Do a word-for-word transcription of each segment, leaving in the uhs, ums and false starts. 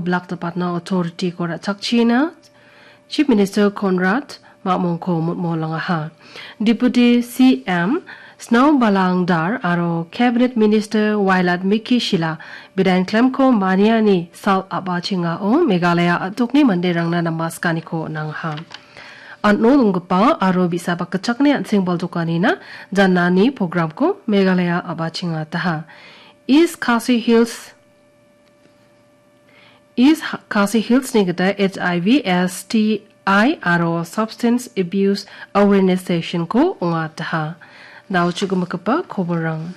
Black Depatna authority-ko ra·chakchina Chief Minister Conrad Ma·mongko motmolangaha. Deputy C M Snao Balangdar aro Cabinet Minister Wailadmiki Shylla bidain klemko maniani sal a·bachengao Meghalaya a·dokni manderangna namaskaniko nangaha. An·o donggipa aro bi·sa bakgitchakni an·seng baldokanina janani programko Meghalaya a·bachengataha. East Khasi Hills East Ha-, Khasi Hillsni gita H I V, S T I aro Substance Abuse Awareness Sessionko ong·ataha. Dao chu gimigipa koborang.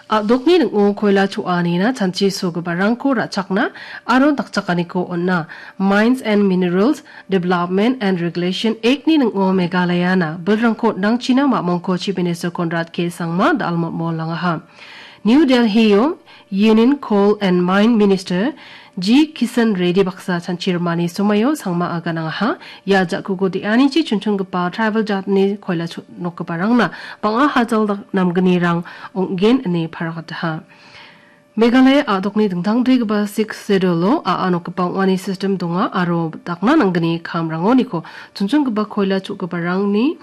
A·dokni ning·o koila cho·anina chanchi sogiparangko ra·chakna aro dakchakaniko on·a. Mines and Minerals Development and Regulation Act-ni ning·o Meghalayana bilrangko on·angchina Ma·mongko Chief Minister Conrad K Sangma da·almotmolangaha. New Delhi-o Union Coal and Mine Minister G Kishan Reddy baksa chanchirimani somoio Sangma aganangaha. Ia ja·kuko de·anichi chonchongipa tribal jatni koila cho-, nokgiparangna bang·a hajal dak-, namgnirang ong·gen ine paragataha. Meghalaya a·dokni dingtangbegipa Sixth Schedule-o a·a nokgipa ong·ani system donga aro dakna nanggni kamrangoniko chonchongipa koila cho·giparangni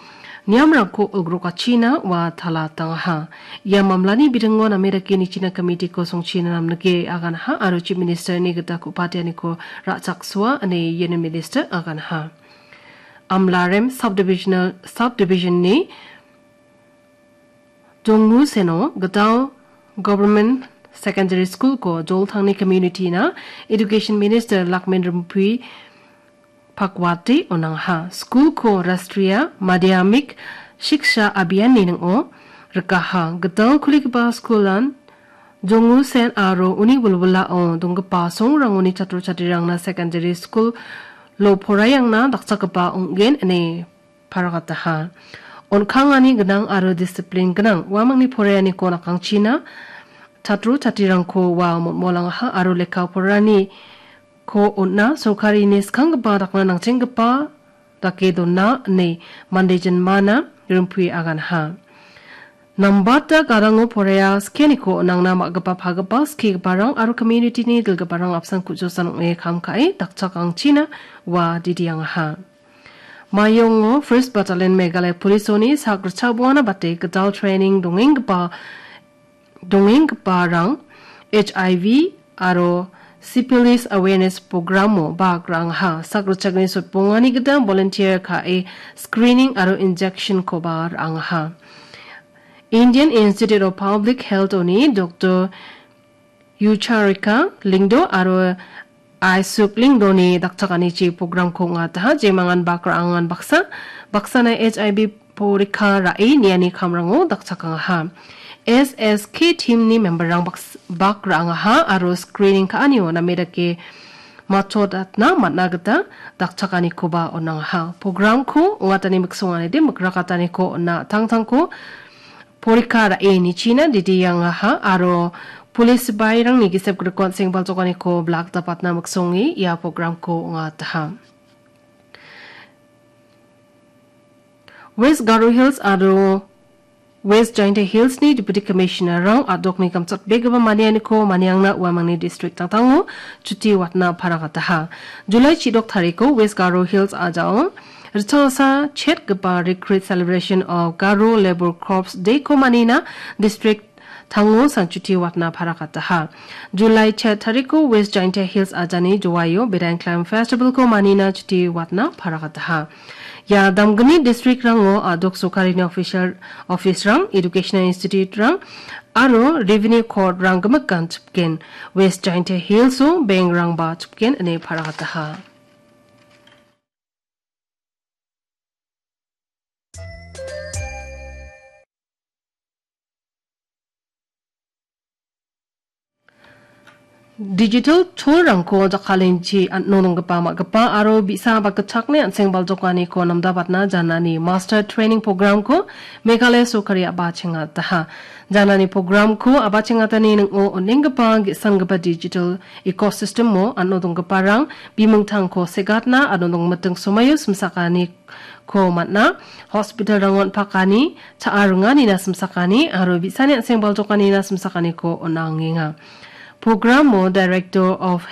niamrangko ugrokachina ua tala tangaha. Ia mamlani biringo name dake nichina komitiko songchina namnike aganha aro Chief Minister-ni gita ku·patianiko ra·chaksoa ine iani Minister aganha. Amlarem Subdivisional, Subdivision-ni Jonguseno Gidal Government Secondary School-ko Joltangni community-na Education Minister Lakmin Rimpui Pakwati on·angaha. School-ko Rashtriya Madhyamik Shiksha Abhiyan-ni ning·o rikaha. Gidal kuligipa school-an Jongusen aro uni wilwilao donggipa songrangoni chatro chatrirangna secondary school-o poraiangna dakchakgipa ong·gen ine paragataha. On·kangani gnang aro disiplin gnang uamangni poraianiko nakangchina chatro chatrirangko ua motmolangaha aro lekka poraaniko on·a sorkarini skanggipa dakna nangchenggipa dake dona ine mande jinmana rimpui aganha. Nambata gadango poraia skianiko on·angna ma·gipa pagipa skigiparang aro community-ni dilgiparang apsan ku·josan ong·e kam ka·e dakchakangchina ua didiangaha. Mayongo First Battalion Meghalaya Police-oni sak ritchakboana bate gital training dongenggipa, dongenggiparang H I V aro Syphilis Awareness Program-o bak ra·angaha. Sak ritchakni sotbongani gita volunteer ka·e screening aro injection-koba ra·angaha. Indian Institute of Public Health-oni Doctor Yucharika Lyngdoh aro Aisuk Lyngdoh-ni dakchakanichi program-ko ong·ataha, jemangan bak ra·angan baksa, baksana H I V porikka ra·e niani kamrango dakchakangaha. S S K team-ni member-rang baks-, bak ra·angaha aro screening ka·anio name dake matchodatna man·a gita dakchakanikoba on·angaha. Program-ko ong·atani miksonganide mikrakataniko on·a tangtangko porikka ra·e nichina didiangaha aro police sipairangni gisep grikon sengbalchokaniko blak dapatna miksonge ia program-ko ong·ataha. West Garo Hills aro West Jaintia Hills-ni Deputy Commissioner-rang a·dokni gamchatbegipa manianiko maniangna uamangni district tangtango chuti watna paragataha. July chidok tariko West Garo Hills ajao ritchasa chetgipa Recreate Celebration of Garo Labour Corps Day-ko manina district tango sanchuti watna paragataha. July chet tariko West Jaintia Hills ajani Jowaio Bedang Climb Festival-ko manina chuti watna paragataha. Ia damgni district-rango a·dok sorkarini official office-rang, educational institute-rang aro revenue court-rang gimikan chipgen. West Jaintia Hills-o bank-rangba chipgen ine paragataha. Digital tool-rangko jakkalengchi an·o nonggipa ma·gipa aro bi·sa ba gitchakni an·seng baljokaniko namdabatna janani master training program-ko Meghalaya sorkari a·bachengataha. Janani program-ko a·bachengatani ning·o on·enggipa ge·sanggipa digital ecosystem-o an·o donggiparang bimingtangko segatna aro nongmiting somaio simsakani ko man·a, hospital-rango on·pakani, cha·a ringanina simsakani aro bi·sani an·seng baljokanina simsakaniko on·angenga. Program-o Director of